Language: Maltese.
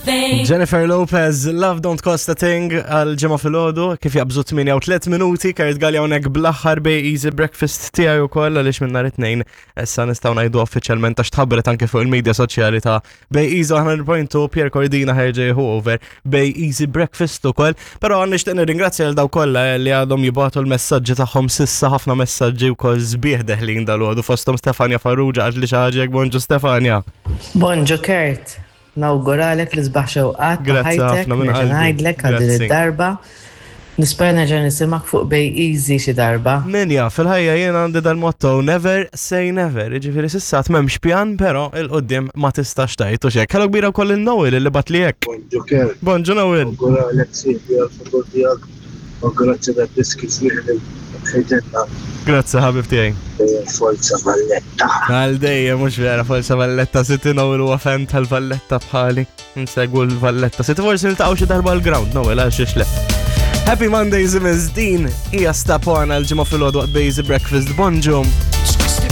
thing. Jennifer Lopez, Love Don't Cost a Thing għal ġimgħa filgħodu kif jaqbżu 8 u 3 minuti, Kurt Gallia hawnhekk bl-aħħar Bay Easy Breakfast tiegħi wkoll għaliex minn nhar it-tnejn issa nistgħu ngħidu uffiċjalment għax tħabbret anke fuq il-medja soċjali ta' Bay Easy 100.2 Pierre Cordina ħerġa jieħu over Bay Easy Breakfast ukoll. Però nixtieq nirringrazzja lil daw kollha eh, li għadhom jibgħatu l-messaġġi tagħhom sissa ħafna messaġġi wkoll sbieħ deħlin dal-għodu fosthom Stefania Farrugia għad li xi ħaġa jekk bonġu Stefania. Bonġu Kurt, nawguralek l-isbaħ xewqat ta' Grazzi ħajtek, ħafna minn nerġa' qalbi. ngħidlek għal din Grazzi. id-darba. Nispera nerġa' nisimgħek fuq Bay Easy xi darba. Min jaf, fil-ħajja jien għandi dal-motto never say never. Jiġifieri s'issa għad m'hemmx pjan, però 'il quddiem ma tistax tgħid u x'hekk. Hello kbira wkoll lil Noel li bagħatli hekk. Bonġu Kurt. Bonġu Noel. Nawguralek sieħbi għall-futur tiegħek u grazzi tad-diski sbieħ li tħejtilna. Grazzi ħabib tiegħi. Dejjem Forza Valletta. Għal dejjem mhux vera Forza Valletta City Noel huwa fan tal-Valletta bħali. Nsegwu l-Valletta City forsi niltaqgħu xi darba l-ground Noel għal xiex le. Happy Monday Zimmers din hija stapona l-ġimgħa filgħodu waqt Bazy Breakfast. Bonġu.